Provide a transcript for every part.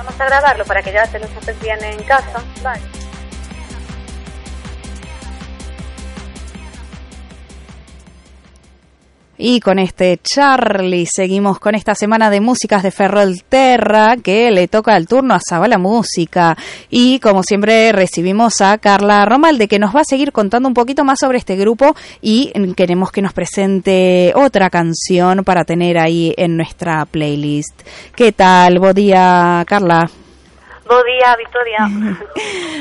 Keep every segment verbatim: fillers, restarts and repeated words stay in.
Vamos a grabarlo para que ya te lo haces bien en casa. Vale. Y con este Charlie seguimos con esta semana de músicas de Ferrolterra, que le toca el turno a Zabala Música. Y como siempre recibimos a Carla Romalde, que nos va a seguir contando un poquito más sobre este grupo, y queremos que nos presente otra canción para tener ahí en nuestra playlist. ¿Qué tal? Buen día, Carla. Bo día, Victoria.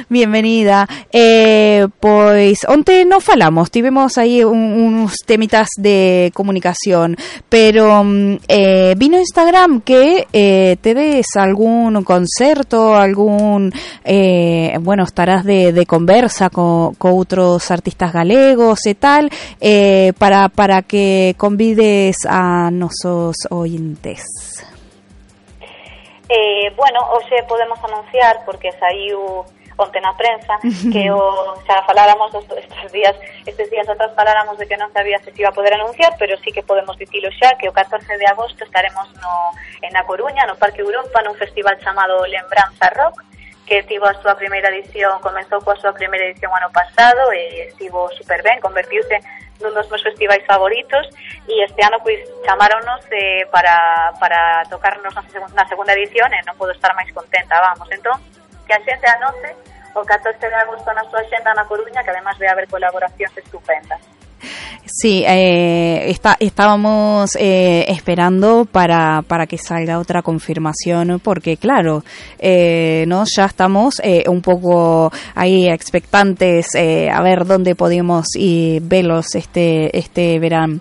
Bienvenida. Eh, pois, onte non falamos, tivemos aí un, uns temitas de comunicación, pero eh, vino Instagram que eh, tedes algún concerto, algún, eh, bueno, estarás de, de conversa co, co outros artistas galegos e tal, eh, para, para que convides a nosos ointes. Eh, bueno, hoxe podemos anunciar, porque saiu onte na prensa, que o, xa faláramos estes días, estes días atrás faláramos de que non sabía se se iba a poder anunciar, pero sí que podemos dicilo xa, que o catorce de agosto estaremos no, en A Coruña, no Parque Europa, nun festival chamado Lembranza Rock, que tivo a súa primeira edición, comenzou coa súa primeira edición ano pasado e estivo super ben, convertiuse nun dos meus festivais favoritos, e este ano pois chamáronos eh, para, para tocarnos na segunda, na segunda edición e non podo estar máis contenta, vamos. Entón, que a xente anote o catorce de agosto na súa xenda na Coruña, que además vai haber colaboracións estupendas. Sí, eh, está, estábamos eh, esperando para, para que salga otra confirmación, porque claro, eh, no, ya estamos eh, un poco ahí expectantes eh, a ver dónde podemos ir verlos este este verano.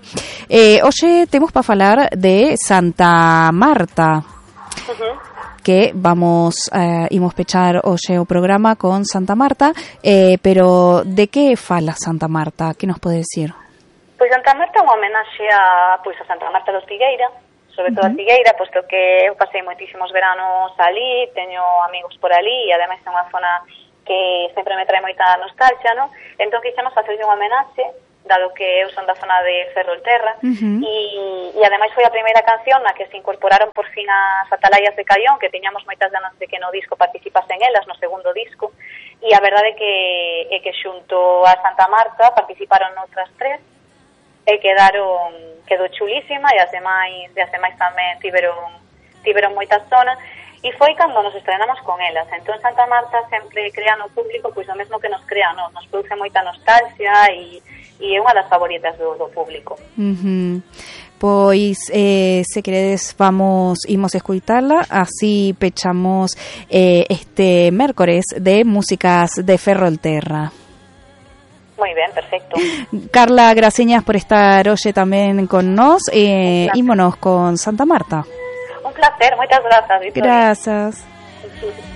Eh, oye, tenemos para hablar de Santa Marta. Uh-huh. Que vamos a eh, pechar hoxe o programa con Santa Marta, eh, pero de que fala Santa Marta? Que nos pode decir? Pois Santa Marta é unha homenaxe a, pois, a Santa Marta de Ortigueira, sobre todo uh-huh. a Ortigueira, posto que eu pasei moitísimos veranos ali, teño amigos por ali, e ademais é unha zona que sempre me trae moita nostalgia, non? Entón quixemos facerlle unha homenaxe, dado que eu son da zona de Ferrolterra, uh-huh. e, e ademais foi a primeira canción na que se incorporaron por fin as atalayas de Caión, que tiñamos moitas ganas de que no disco participasen elas, no segundo disco, e a verdade é que, é que xunto a Santa Marta participaron outras tres, e quedaron, quedou chulísima, e as demais, e as demais tamén tiveron, tiveron moitas zonas, e foi cando nos estrenamos con elas. Entón Santa Marta sempre crea no público pois o mesmo que nos crea, nos, nos produce moita nostalgia, e e é unha das favoritas do, do público. Uh-huh. Pois, eh, se queredes, vamos, imos escuitarla, así pechamos eh, este mércores de músicas de Ferrolterra. Moi ben, perfecto. Carla, graciñas por estar hoxe tamén con nós, eh, ímonos con Santa Marta. Un placer, moitas grazas, Victoria. Grazas.